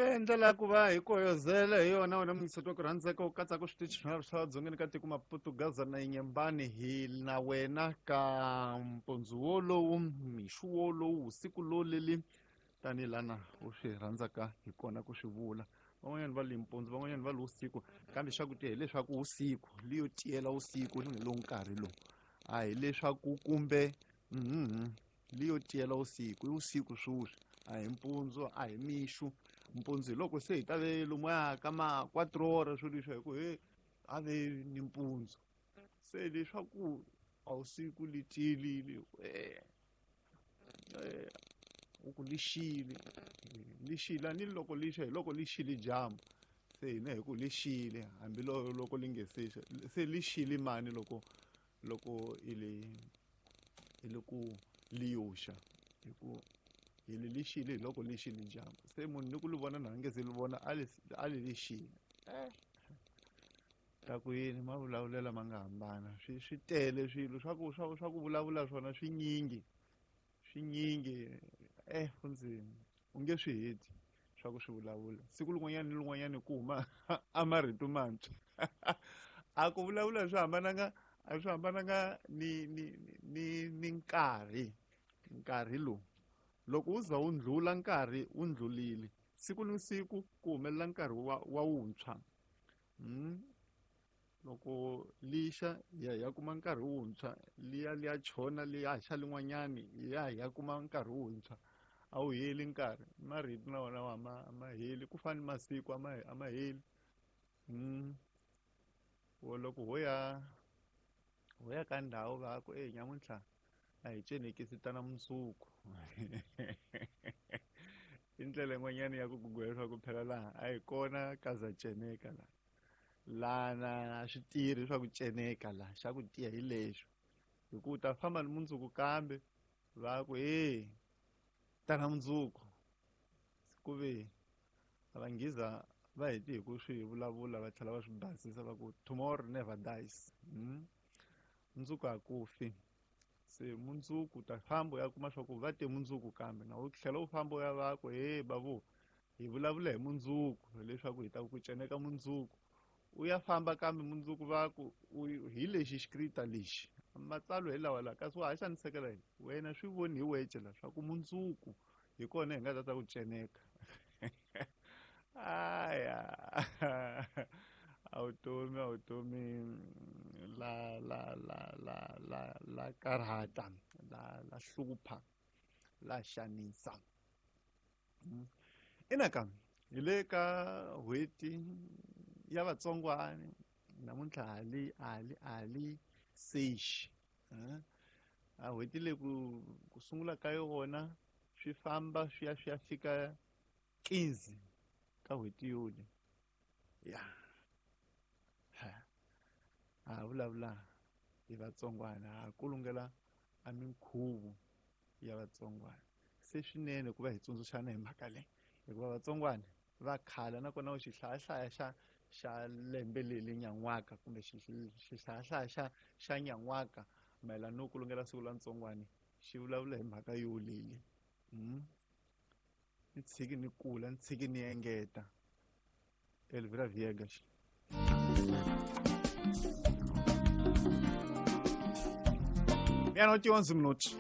Ve ndlela ya ku va hi koyozela hi yona wena muyingiseti wa ku rhandzeka u katsaka switichi swinharhu swa dzongeni ka tiko Maputo, Gaza na Inyembani hi na wena ka mpundzu wolowu mixo wolowu vusiku loleli tanihi lana u swi rhandzaka hi kona ku swi vula. Van'wanyana va li mpundzu, van'wanyana va li vusiku, kambe xa ku tiya hileswaku vusiku liyo tiyela vusiku ni lowu nkarhi lowu a hileswaku kumbe liyo tiyela vusiku i vusiku sweswi a hi mpundzu a hi mixo. Mpundzu hi loko se hi ta ve lomuya ka ma quatro swo leswi hi ku he a ve ni mpundzu se leswaku a vusiku li tiyelile u ku lixile lixile a ni loko lixa hi loko lixile dyambu se hina hi ku lixile hambi loko li nge se xa se lixile mani loko loko i le i le ku liyoxa hi ku hi li lixile hi loko lixile dyambu se munhu ni ku li vona na nge se li vona a li a li lixile ta ku yini mavulavulelo ma nga hambana swi swi tele swilo swa ku swa swa ku vulavula swona swinyingi swinyingi kundzima u nge swi heti swa ku swi vulavula siku lin'wanyana ni lin'wanyana ku huma a marito mantshwa a ku vulavula swi hambananga a swi hambananga ni ni ni ni nkarhi nkarhi lowu loko wu za wu ndlula nkarhi wu ndlulile siku ni siku ku humelela nkarhi wa wa wuntshwa loko lixa ya ya kuma nkarhi wuntshwa liya liya chona liya xa lin'wanyani ya ya kuma nkarhi wuntshwa a wu heli nkarhi marito na wona a ma heli ku fana ni masiku a ma a ma heli wo loko ho ya ho ya ka ndhawu va ku e nyamuntlha a hi cenekisi tana mundzuku i ndlela yin'wanyana ya ku gugula leswaku phela laha a hi kona ka za ceneka laha lana a swi tirhi swa ku ceneka laha xa ku tiya hi lexo hi ku u ta famba ni mundzuku kambe va ku e tana mundzuku ku ve va nghiza va heti hi ku swi vulavula va tlhela va swi basisa va ku tomorrow never dies mundzuku a ku fi se mundzuku u ta famba u ya kuma swa ku va te mundzuku kambe na u tlhela u famba u ya va ku he bavu hi vulavula hi mundzuku leswaku hi ta ku ceneka mundzuku u ya famba kambe mundzuku va ku hi lexi xikrita lexi matsalwa hi lawa la kasi wa ha xanisekela yini wena swi voni hi wece la swa ku mundzuku hi kona hi nga ta ta ku ceneka aya a vutomi a vutomi la la la la la la karhata la la hlupha la xanisa ina hi le ka n'hweti ya vatsongwani namuntlha hali hali hali sexi a n'hweti leyi ku ku sungula ka yona swi famba swi ya swi ya fika 15 ka n'hweti yoli ya ha vulavula hi vatsongwana ha kulungela a minkhuvo ya vatsongwana se swinene ku va hi tsundzuxana hi mhaka leyi hikuva vatsongwana va khala nakona xihlayahlaya xa xa lembe leri nyan'waka kumbe xihlayahlaya xa xa nyan'waka mayelana no kulungela siku la ntsongwani xi vulavula hi mhaka yoleli ni tshiki ni kula ni tshiki ni engeta Elvira Viegas. Meia-noite e 11 minutos.